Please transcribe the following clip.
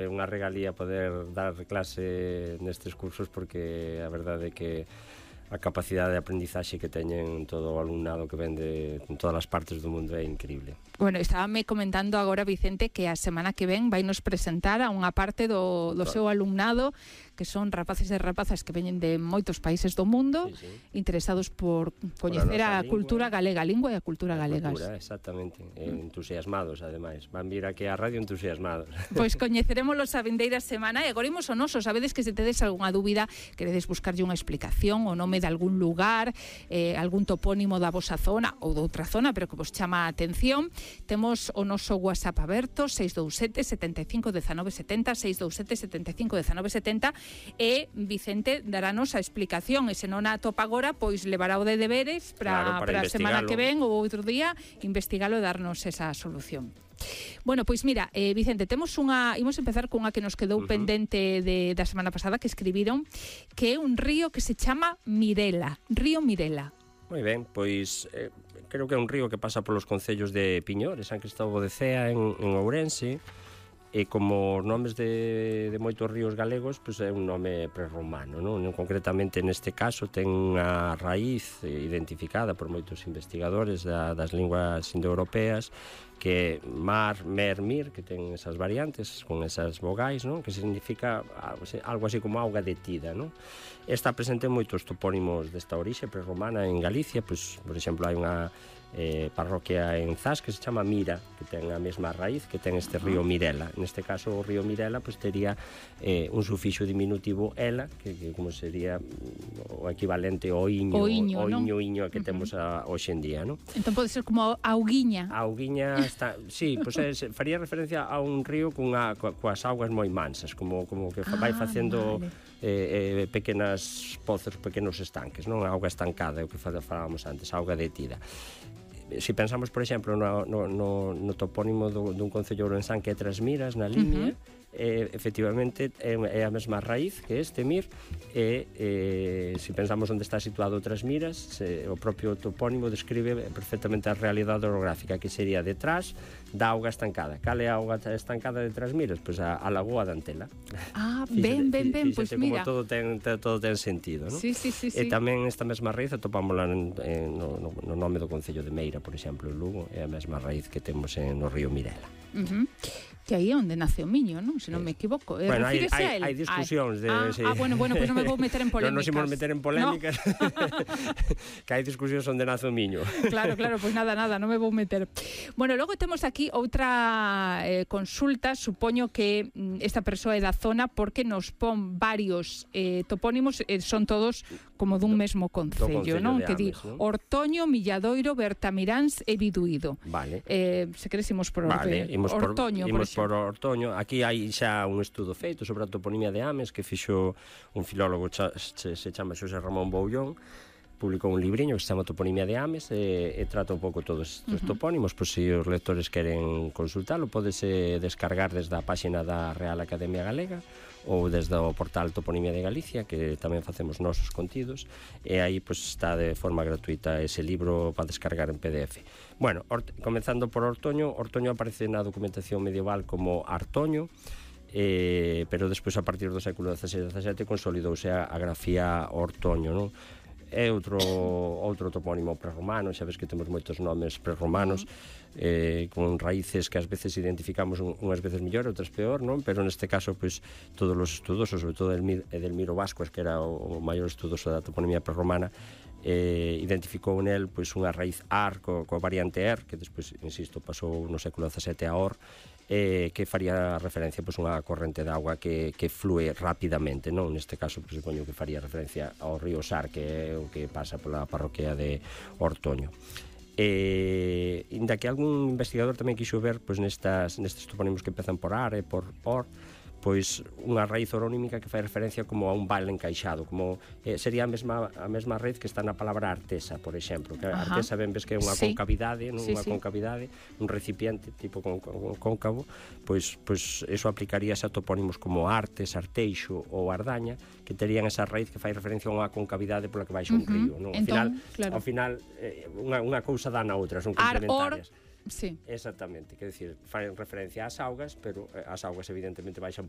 é unha regalía poder dar clase nestes cursos, porque a verdade é que a capacidade de aprendizaxe que teñen todo o alumnado que ven de todas as partes do mundo é increíble. Bueno, estábame comentando agora, Vicente, que a semana que ven vai nos presentar a unha parte do seu alumnado, que son rapaces e rapazas que veñen de moitos países do mundo, interesados por coñecer a cultura galega, a lingua e a cultura galegas. Exactamente, entusiasmados, ademais. Van vir aquí á radio entusiasmados. Pois coñecerémolos a vindeira semana e agora imos ao noso. Sabedes que se tedes algunha dúbida, queredes buscarlle unha explicación, o nome de algún lugar, algún topónimo da vosa zona ou de outra zona, pero que vos chama a atención, temos o noso WhatsApp aberto, 627 75 19 70, 627 75 19 70, e Vicente darános a explicación, e se non a atopa agora, pois levará o de deberes para a semana que ven ou outro día investigalo e darnos esa solución. Bueno, pois mira, Vicente, imos empezar cunha que nos quedou pendente da semana pasada, que escribiron, que é un río que se chama Mirela, río Mirela. Moi ben, pois creo que é un río que pasa polos concellos de Piñor e San Cristóbal de Cea en Ourense, e como os nomes de moitos ríos galegos, pois é un nome prerromano, non? Concretamente neste caso ten unha raíz identificada por moitos investigadores das linguas indoeuropeas, que mar, mer, mir, que ten esas variantes con esas vogais, non? Que significa algo así como auga detida, non? Está presente en moitos topónimos desta orixe prerromana en Galicia, pois, por exemplo, hai unha parroquia en Zas que se chama Mira, que ten a mesma raíz que ten este río Mirela. Neste caso o río Mirela pois tería un sufixo diminutivo ela, que como sería o equivalente ao iño que temos hoxe en día, non? Entón pode ser como auguiña. Auguiña está, sí, pois faría referencia a un río coas augas moi mansas, como que vai facendo pequenas pozos, pequenos estanques, non? A auga estancada, é o que falábamos antes, a auga detida. Se pensamos, por exemplo, no topónimo dun concello ourensán que é Trasmiras, na Limia, efectivamente é a mesma raíz que este mir, e se pensamos onde está situado Trasmiras, o propio topónimo describe perfectamente a realidade orográfica, que sería detrás da auga estancada. Cal é a auga estancada de Trasmiras? Pois a lagoa de Antela. Ben, pois mira. Como todo ten sentido, non? Sí. E tamén esta mesma raíz atopámola no nome do concello de Meira, por exemplo, en Lugo, é a mesma raíz que temos no río Mirela. Que aí é onde nace o miño, non? Se non me equivoco. Bueno, hai discusións de... Bueno, pois non me vou meter en polémicas. Non nos imos meter en polémicas. Que hai discusións onde nace o miño. Claro, pois nada, non me vou meter. Bueno, logo temos aquí outra consulta. Supoño que esta persoa é da zona porque nos pon varios topónimos, son todos como dun mesmo concello, non? Que di Ortoño, Milladoiro, Bertamiráns e Biduído. Vale. Se queres imos por orde. Ortoño, por exemplo. Por Ortoño. Aquí hai xa un estudo feito sobre a toponimia de Ames que fixo un filólogo se chama Xosé Ramón Boullón, publicou un libriño que se chama Toponimia de Ames e trata un pouco todos estes topónimos. Pois se os lectores queren consultalo, podese descargar desde a páxina da Real Academia Galega ou desde o portal Toponimia de Galicia, que tamén facemos nosos contidos, e aí pois está de forma gratuita ese libro para descargar en PDF. Bueno, comenzando por Ortoño aparece na documentación medieval como Artoño, pero despois a partir do século XVI e XVII consolidouse a grafía Ortoño, non? É outro topónimo prerromano, xa ves que temos moitos nomes prerromanos, con raíces que ás veces identificamos unhas veces mellor, outras peor, non? Pero neste caso, pois, todos os estudosos, sobre todo Edelmiro Vascuas, que era o maior estudoso da toponimia prerromana, identificou nel pois unha raíz ar coa variante er, que despois, insisto, pasou no século XVII a or, que faría referencia pois unha corrente de auga que flúe rapidamente, non? Neste caso, pois, supoño que faría referencia ao río Sar, que é o que pasa pola parroquia de Ortoño. Inda que algún investigador tamén quixo ver pois nestes topónimos que empezan por ar e por or, pois unha raíz oronímica que fai referencia como a un val encaixado, como sería a mesma raíz que está na palabra artesa, por exemplo, que a artesa ben ves que é unha concavidade, non? Unha concavidade, un recipiente tipo cóncavo, pois eso aplicaríase a topónimos como Artes, Arteixo ou Ardaña, que terían esa raíz que fai referencia a unha concavidade pola que baixa un río, non? Ao final unha cousa dá na outra, son complementarias. Sí. Exactamente, quer decir, fan referencia ás augas, pero as augas evidentemente baixan